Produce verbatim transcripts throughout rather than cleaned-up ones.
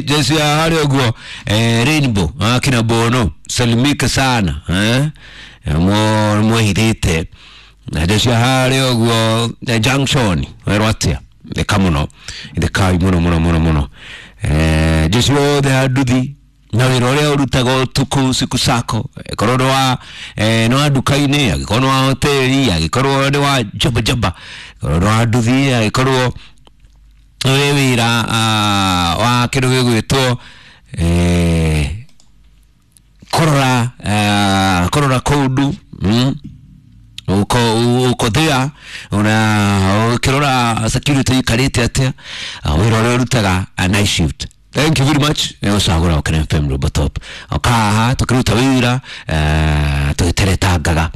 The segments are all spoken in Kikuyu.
Jeshi ya hali uguo eh, Rainbow akina Bono salimika sana eh mo mwehithite na jeshi ya hali uguo junction werwo atia theka muno theka muno muno muno muno eh jeshi yothe ya nduthi na wĩra ũrĩa ũrutaga ũtukũ siku sako korwo nĩ wa eh, nĩ wa nduka-inĩ angĩkorwo nĩ wa hoteli angĩkorwo nĩ wa jaba jaba korwo nĩ wa nduthi angĩkorwo wĩ wĩra uh, wa kĩndũ gĩgwĩtwo eh, kũrora uh, kũrora kũndũ mm? uko uko there una ukirora security ikarite atia wĩra ũrĩa ũrutaga night shift. Thank you very much. Nĩgũcagũra Ũkena F M Robo Top okaha tũkĩruta wĩra tũgĩteretangaga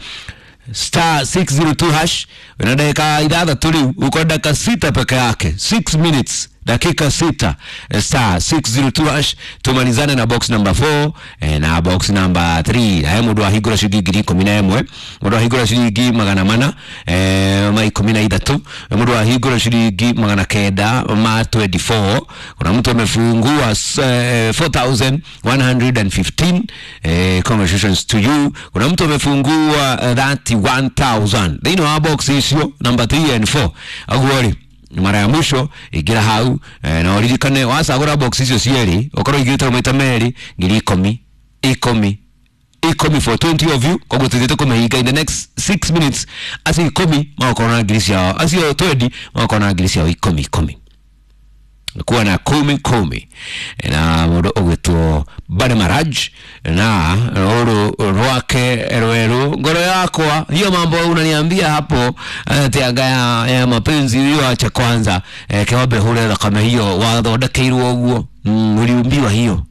star six zero two hash wĩna dakika ithathatũ rĩu uko dakika sita peke yake six minutes dakika sita star six zero two hash tumalizane na box number four eh, na box number three. Hae mundu ahingura ciringi ngiri ikumi na ĩmwe mundu ahingura ciringi magana mana eh, ma ikumi na ithatu mundu ahingura ciringi magana kenda ma twenty-four. Kuna mtu amefungua eh, four thousand one hundred fifteen eh, congratulations to you. Kuna mtu amefungua eh, thirty-one thousand thĩinĩ wa box icio number three and four aguo mara ya mwisho igira hau eh, na uririkane wacagũra box icio cierĩ ũkorwo igĩrĩte maita merĩ ngiri ikũmi ikũmi ikũmi for twenty of you koguo tuthiĩte kũmĩhinga in the next six minutes acio ikũmi magakorwo na ngiri ciao acio twenty magakorwo na ngiri ciao ikũmi ikũmi kuwa na kumi kumi na mũndũ ũgwĩtwo Bane Maraj na rũrũ rwake rweru ngoro yakwa hiyo mambo unaniambia hapo ati anga ya, ya mapenzi hiyo acha kwanza eh, kewambe hure thakame hiyo wathondekeirwo ũguo mm, uliumbiwa hiyo